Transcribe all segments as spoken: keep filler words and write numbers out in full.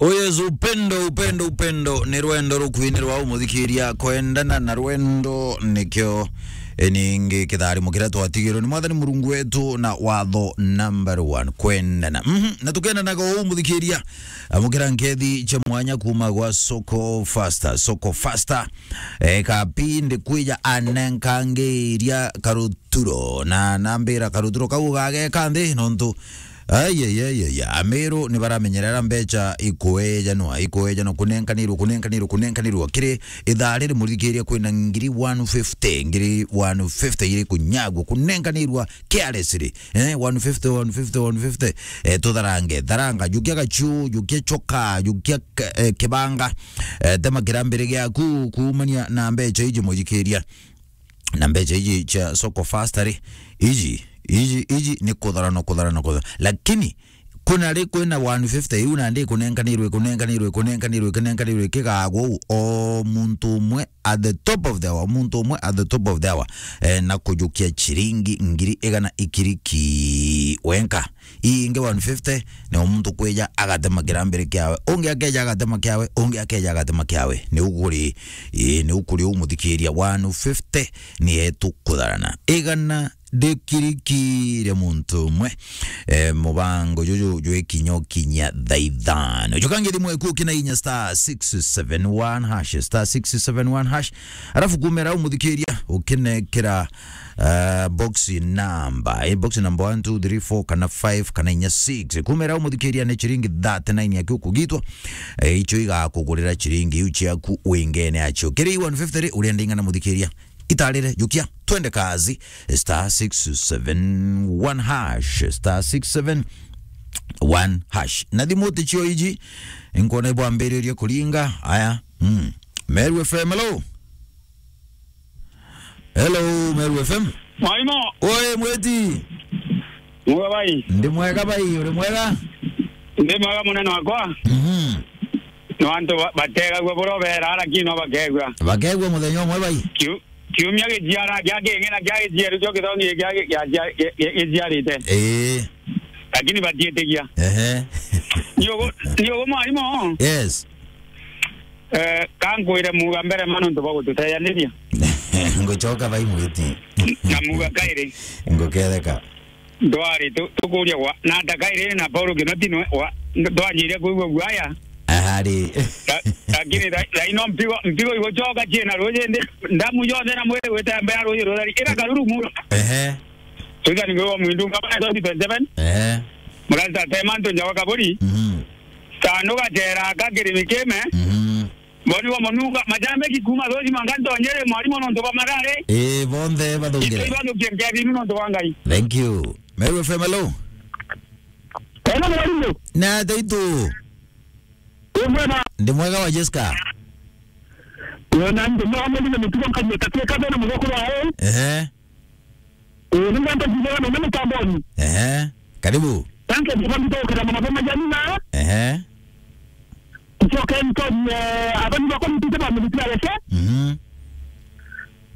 Oh yes, upendo, upendo, upendo ni rwendo rukwinirwa umuthikiria kwendana na rwendo nikio, e, ningi kitharimo kiria twatigirwe ni Mwathani Murungu wetu na watho number one, kwendana. Mhm, na tukendanaga uu umuthikiria, amukira nkethi cia mwanya kuma gwa Soko Faster, Soko Faster. E, kapi ndikwija anenkangiria karuturo, na nambira karuturo kau gageka nthi nontu Ai, ai, ai, ai, Ameru ni baramenyerera mbeca ikuejanwa, ikuejanwa, kunenkanirwa, kunenkanirwa, kunenkanirwa. Kiri ithaa riri muthikiria kwina ngiri one fifty, ngiri one fifty iri kunyagwa, kunenkanirwa carelessly. Eh, one fifty, one fifty, one fifty. Eh, tutharange, tharanga, jukia gachu, jukia choka, jukia k-, eh, kibanga. Eh, tema kirambiri giaku kuumania na mbeca iji muthikiria. Na mbeca iji cia Soko Faster ri, iji, iji, iji ni kutharana, kutharana, kutharana. Lakini kuna ri kwina one fifty iu nandi ikunenkanirwe, ikunenkanirwe, ikunenkanirwe, ikunenkanirwe, ikigagwa uu, o muntu umwe at the top of the hour, muntu umwe at the top of the hour, eh, na kujukia chiringi ngiri igana ikiriki wenka. Ii ingi one fifty, ni o muntu kwija agatema kirambiri kiawe, ungi akeja agatema kiawe, ungi akeja agatema kiawe. Ni ukuri, ii, ni ukuri umuthikiria one fifty, ni etu kutharana. Igana ndikirikire muntu umwe. Eh, mubango juju jwi kinya ukinyia thaa ithano. Jukange thimu eku ukina inya star six seven one hash, star six seven one hash. Arafu kumera umuthikiria ukinekera Uh, box number, eh, box number one, two, three, four, kana five, kana inya six. Kumera umuthikiria ni chiringi thirty-nine yaku kugitwa. Eh, icho igakugurira chiringi iu chiaku wingene acho. Kiri one fifty ri, uria ndingana muthikiria. Itarire, jukia, twende kazi. Star six seven one hash, star six seven one hash. Na thimu tichio iji, nkona ibwambiririe kuringa. Aya, mm. Meru F M, hello. Hello, Meru F M. Mwaimo. Oe, mweti. Mwega bai. Ndi mwega bai, uri mwega? Ndi mwega munene wakwa. Mhm. No antu ba-, bategagua buro bera, lakini no bakegua. Bakegua muthenya umwe bai. Kiu-, kiumia gijiara, kia king'ina kia gijiaru, kio githongi kia gi-, kia, kia, kia, kia gijiarite. Ee. Lakini batiitigia. Ehe. Niogo, niogo mwaimo. Yes. Eh, ka nkwire muga mbere ma nontu bwa gututeyaniria. Ngucoka bai mwiti. Na muga kairi. Nguketheka. Ndwari tu-, tukuria gwa, na ata kairi na Paulo Kinoti nwe, wa, nd-, twanjiria kuigua guaya. Ahari. La-, lakini tha-, thaino mpigo, mpigo igucoka ciina ruji ndi, ndamu yonthe na mwiri gwitembea ruji rutheri. Ira karuru muno. Ehe. Twithani ngwe wa mwindu ngabana twenty twenty-seven. Ehe. Murata tema ntu njawa kaburi. Mhm. Sandu gatera aka kirimi kime. Mhm. Boni wa mununga, majambe kikuma thoji manga ntonyere mwarimu nontu bwa marare. Eh, bonthe bathungire. Itwe bathukie nkethi inu nontu bwa Ngai. Thank you. Meru F M, hello. Hello, mwarimu. Na taitu. Uri mwega? Ndi mwega wa Jessica. Yo, na ndi mwega, mwarimu, mitugo nkaji, takie kabe na mugokuru wae. Ehe. Eh, ni ngwenda kuuga na mimi tamboni. Ehe. Karibu. Thank you, kwa mtu kwa kama mama Janina. Ehe. Ncoke ntonye, eh, abani bakwa mutite ba mutite areke. Mhm.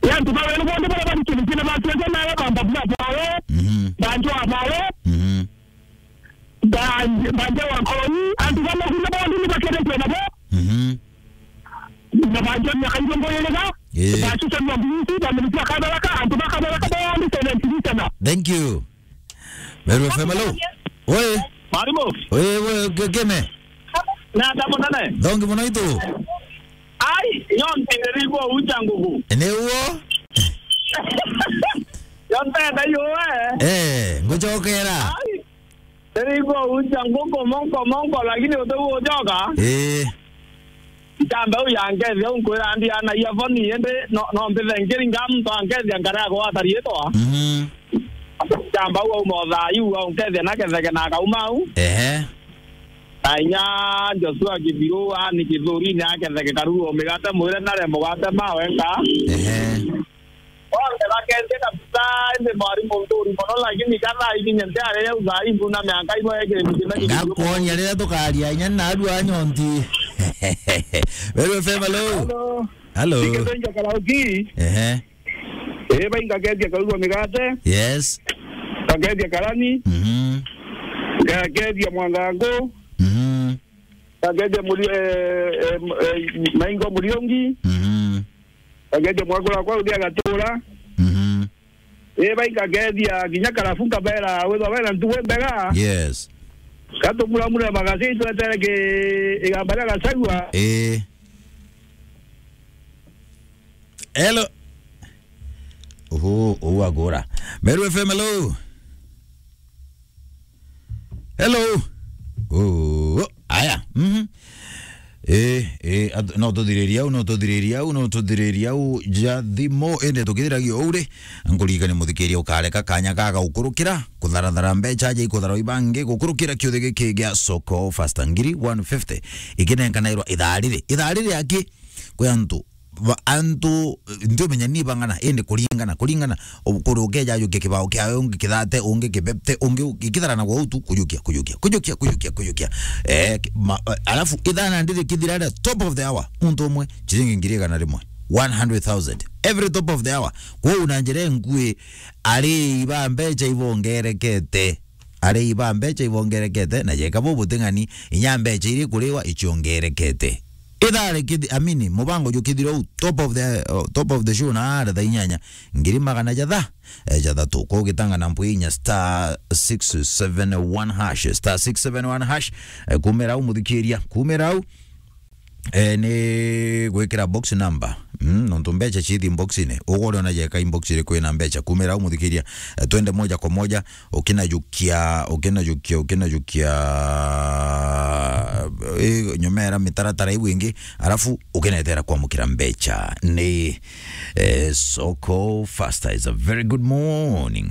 Ya, ntu bawe ni bonde bara bari kintu kina ba tuenze na ya bamba bwa bawe. Mhm. Banjo abawe. Mhm. Ba-, banja wa nkoroni, antu bamwe kuna bondi ni bakendetwe nabo. Mhm. Na banja miaka irongo iriga. Eh. Ba chucha mwa mbisi, ba mbisi ya kabaraka, antu ba kabaraka bondi seventy sana. Thank you. Meru F M, hello. Oi. Mwarimu. Oi, oi, ge-, geme. Na ata munene. Thongi muno itu. Ai, yo ntirigwo ucha ngugu. Ni uo? Yo ntenda yo, eh. Eh, ngucokera. Ai. Iri igo ucha nguku monko monko, lakini uti gucoka. Ii. Ntamba u ya nkethi au nkwira ndi ana ia boni, indi no, no mbithe nkiri nga muntu ankethia nkara ya gwata riitwa. Mhm. Ntamba u auma o thaa iu au nkethia na ketheke na akauma au. Ehe. Na inya Joshua Kithiru ani Kithurine aketheke karuru o migate mwire nare mugate mawe nka. Ehe. Bonthe bakethie kabisa, indi mwarimu nthuri mono, lakini kana ikinya ntiari riu thaa ii mbuna miaka imwe ekire mukina. Ngakuonia riria tukaria inya na arua anyonti. Meru F M, hello. Hello. Hello. Ikethonja karaoki. Ehe. Ii, bai ngakethia karuru o migate. Yes. Ngakethia karani. Mhm. Ngakethia mwangangu. Mhm. Ngakethia Muri-, eh, eh, eh, Maingo Muriungi. Mhm. Ngakethia mwakura kwa uthia Gatura. Mhm. Ii, bainga ngethia kinya Karabu, nkabera withwa bena ntugu mbega. Yes. Katumuramure magasi twetere ki igamba ria Gachagua. Ii. Hello. Oho, oho, agora. Meru F M, hello. Hello. Oh, aya. Mhm. Eh, eh, at-, no tuthiririe au, no tuthiririe au, no tuthiririe au, ja thimo, ende tukithiragia uri. Nkuririkanie muthikiria ukareka kanya gaga gukurukira, kutharathara mbecha, ja ikuthara ibangi, gukurukira kiuthi giki gia Soko Fasta ngiri one fifty. Ikinenkanairwa ithaa riri. Ithaa riri aki, kwi antu ba-, antu, eh, ntiumenya ni bang'ana, indi kuringana, kuringana, u-, kuri ukeja ajukia kibao kiawe, ungi kithate, ungi kibepte, ungi u-, ikitharana gwa utu, kujukia, kujukia, kujukia, kujukia, kujukia. Eh, ki-, ma-, eh, alafu ithana ndiri kithira ria top of the hour, muntu umwe, chiringi ngiri igana rimwe, one hundred thousand, every top of the hour. Kwou na njira inkui, ari iba mbecha ibongerekete. Arei ba mbecha ibongerekete, na jeka bo buting'ani, inya mbecha iri kuriwa ichiongerekete. Ithare kithi-, amini, mubango jukithira u top of the, uh, top of the show na ara thaa inyanya, ngiri magana jatha, eh, jathatu. Kwa ugitanga na mpwi inya star six seven one hash, star six seven one hash, eh, kumera u muthikiria, kumera u. Eh, ni gwikira box number. Mm, nontu mbecha cithi box-ini. Ugore ona jeka inbox iri kwina mbecha. Kumira umuthikiria. Eh, twende moja kwa moja. Ukinajukia, ukinajukia, ukinajukia, eh, nyomera mitaratara iu ingi. Alafu ukinetera kwamukira mbecha. Ni, eh, Soko Fasta is a very good morning.